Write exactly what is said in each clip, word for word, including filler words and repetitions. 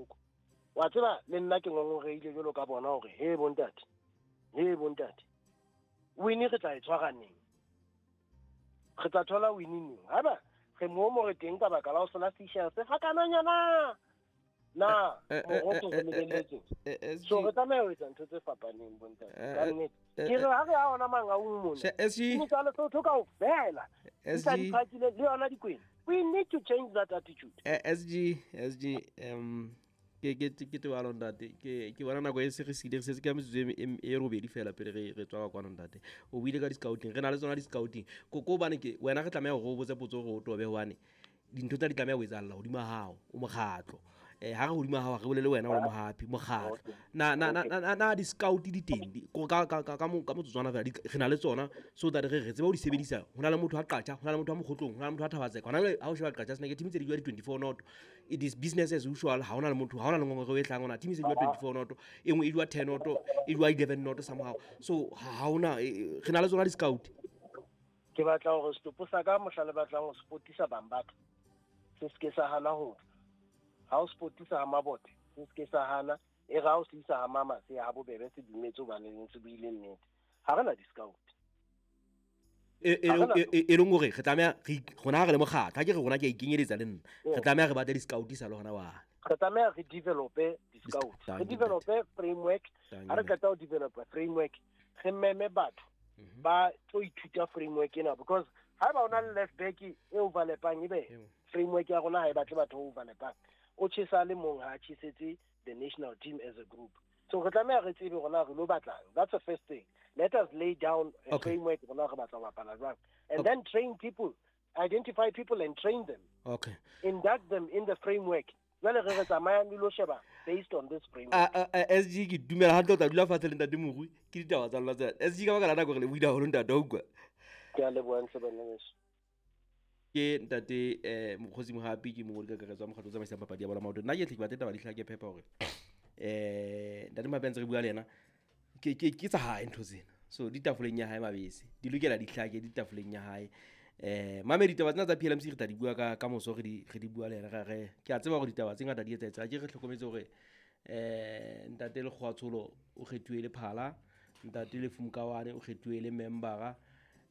bohloko. Wa tseba le nna ke ngongoreile jwalo ka bona hore he bontate, he bontate, win re tla e tshwara neng? Re tla thola win neng? Haeba re mo mo re teng ka baka la ho sola Seychelles ga kananyana na moroko re lebeletse. So re tlameha ho etsa ntho tse fapaneng bontate. Ka nnete ke re ha re a ona Mangaung mona ke tsa Lesotho kaofela S G le yona dikwena. We need to change that attitude. S G S G um ke ke ke tebalo ntate ke ke bona nako e se re sile re setse ka metsotso e robedi fela pele re re tswa kwa ntate. O buile ka di-scouting, re na le tsona di-scouting ko ko bane ke wena re tlameha hore o botse potso hore o tobe hobane dintho tsa di tlameha ho etsahalla hodima hao o mokgatlo. Eh ha re hodima hao re bolele wena o le mohapi mokgatlo. Na na na na di-scout di teng ka ka ka ka motsotswana fela re na le tsona so that re re tsebe ho di sebedisa. Ho na le motho a Qacha, ho na le motho a Mokgotlong, ho na le motho a Thabatseka. Hona jwale ha o sheba Qacha sena ke team tse di jwa di twenty-four not. It is business as usual. Ha hona le motho, ha hona le ngongoreo e hlahang hona. Team se di jwa twenty-four not, e nngwe e jwa ten not, e jwa eleven not somehow. So ha hona re na le tsona di-scout. Ke batla hore setopo sa ka mohla le batlang ho spotisa bang batho se se ke sa hana ho ha o spotisa ha Mabote se se ke sa hana e ra o se isa ha mama se ha bobebe se dumetse hobane le ntse buile nnete. Ha re na di-scout e e e leng hore re tlameha re rona re le mokgatlo ha ke re rona ke a ikenyeletsa le nna re tlameha re batle di-scout sa le hona wa re tlameha re develope di-scout, re develope framework. Ha re qeta ho developa framework re meme batho ba tlo ithuta framework ena, because haeba o na le left back e overlapang ebe framework ya rona ha e batle batho ba overlapang o tjhesa le mong ha tjhesetse the national team as a group. So re tlameha re tsebe rona re lo batlang. That's the first thing. Let us lay down a okay. framework rona re batla ho bapala jwang, and okay. then train people, identify people and train them. Okay. Induct them in the framework. Jwale re re tsamayang le lo sheba based on this framework. A S G ke dumela hantle o tla dula fatshe le ntate Morui ke ditaba tsa lona tsena. S G ka baka la nako re le buile haholo ntate wa utlwa. Ke a leboha ntle bana beso. Ke ntate eh Mokgosi Mohapi ke mongodi kakaretso wa mokgatlo o tsamaisang papadi ya bolo ya maoto. Nna ke tle ke batle taba di hlake phepa hore eh ntate Mohapi a ntse re bua le yena ke ke ke tsa hae ntho tsena. So di tafoleng ya hae mabese di lokela di hlake di tafoleng ya hae. Eh mame ditaba tsena tsa P L M C re tla di bua ka ka moso re di re di bua le yena re re ke a tseba hore ditaba tse ngata di etsaetse. Ke re hlokometse hore eh ntate Lekgoatsholo o kgethuwe le phala, ntate Lefumkawane o kgethuwe le membera.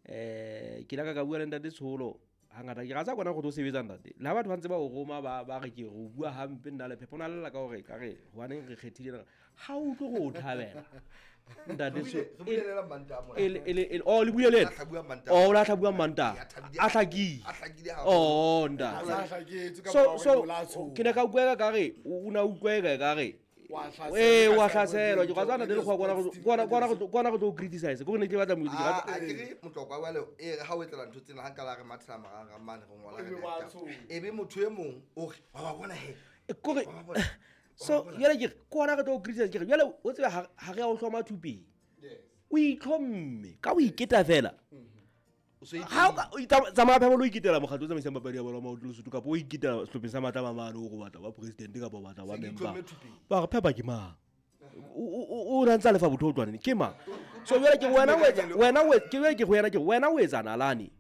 Eh ke la ka ka bua le ntate Tsholo hangata ke ratsa kona go tlo sebetsa ntate. Le ha batho ba ntse ba o roma ba ba re ke re o bua hampe nna le phepo na lela ka hore ka re hobaneng re kgethile ha o utlwe go o thabela. Ntate so e le oh le buile le oh la tla bua Manta a hlakile oh ntate so so ke ne ka utlwa ka re o na utlwa ka re eh wa hlaselwa ke tsana le go kwana kwana kwana kwana go tlo criticize go ne ke batla music a ke re motlokwa wa le e re ha o etlela ntho tsena ha nka la re mathela marang mane re ngola re e be motho e mong o re wa ba bona he ko re so yela ke kwana re tlo criticize ke re jwale o tsebe ha re a o hloma thupeng o itlhomme ka o iketa fela ha o tsamaya phebo lo iketela mokgatlo o tsamaisang papadi ya bolo ya maoto Lesotho kapa o iketela sehlopheng sa Matlama mane o go batla ba president kapa o batla ba member ba re phepa ke mang o o ntsa lefa botho o tlwane ke mang. So jwale ke wena o etsa wena o ke jwale ke go yena ke wena o etsa nalane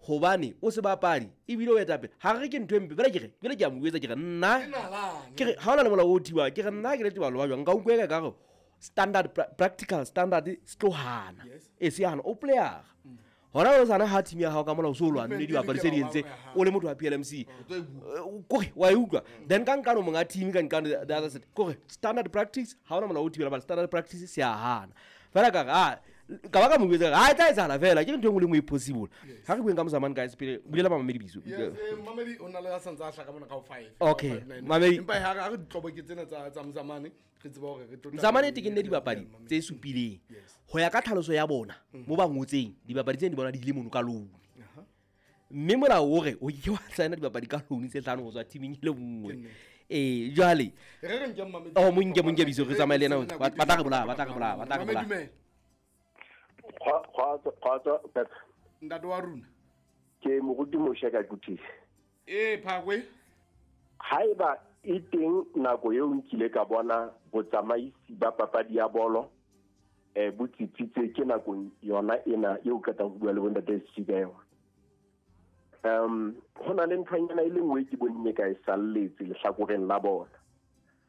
hobane o se bapadi ebile o etapele ha re ke ntho e mpe bele ke re bele ke a mo etsa ke re nna ke re ha ona le molao o thiwa ke re nna ke le tebalo ba jwang nka utlwa ka re standard practical standard se tlo hana e se hana o player hona o sana ha team ya hao ka molao so lwane le dibapadi tse di entse o le motho wa P L M C kore wa e utlwa then ka nkano monga team ka nkano the other side kore standard practice ha ona molao o thibela ba standard practice se a hana fela ka ha ka ba ka mo botsa ha tla etsahala fela ke ntho e nngwe le nngwe e possible ha re bueng ka Mzamane guys pele bulela mamedi biso yes mamedi o na le a santse a hlaka mona ka five okay mamedi empa ha re ditlobo ke tsena tsa tsa Mzamane re tseba hore re tlo Mzamane te ke nne dibapadi tse supileng ho ya ka tlhaloso ya bona mo ba ngotseng dibapadi tse di bona di ile mono ka loan mme molao o re o ke wa signa dibapadi ka loan tse hlano ho tswa teaming e le nngwe eh jwale re re nke mamedi oh mo nke mo nke biso re tsamaye le yena ba tla re bolaya ba tla re bolaya ba tla re bolaya Kgotso Pep ntate wa rona ke moruti Moshe ka Kuthisi eh phakwe haeba e teng nako eo nkile ka bona botsamaisi ba papadi ya bolo eh bo tsitsitse ke nako yona ena eo qetang ho bua le bontate S G ka yona. Um ho na le nthonyana e le nngwe ke bonne ka e salletse lehlakoreng la bona.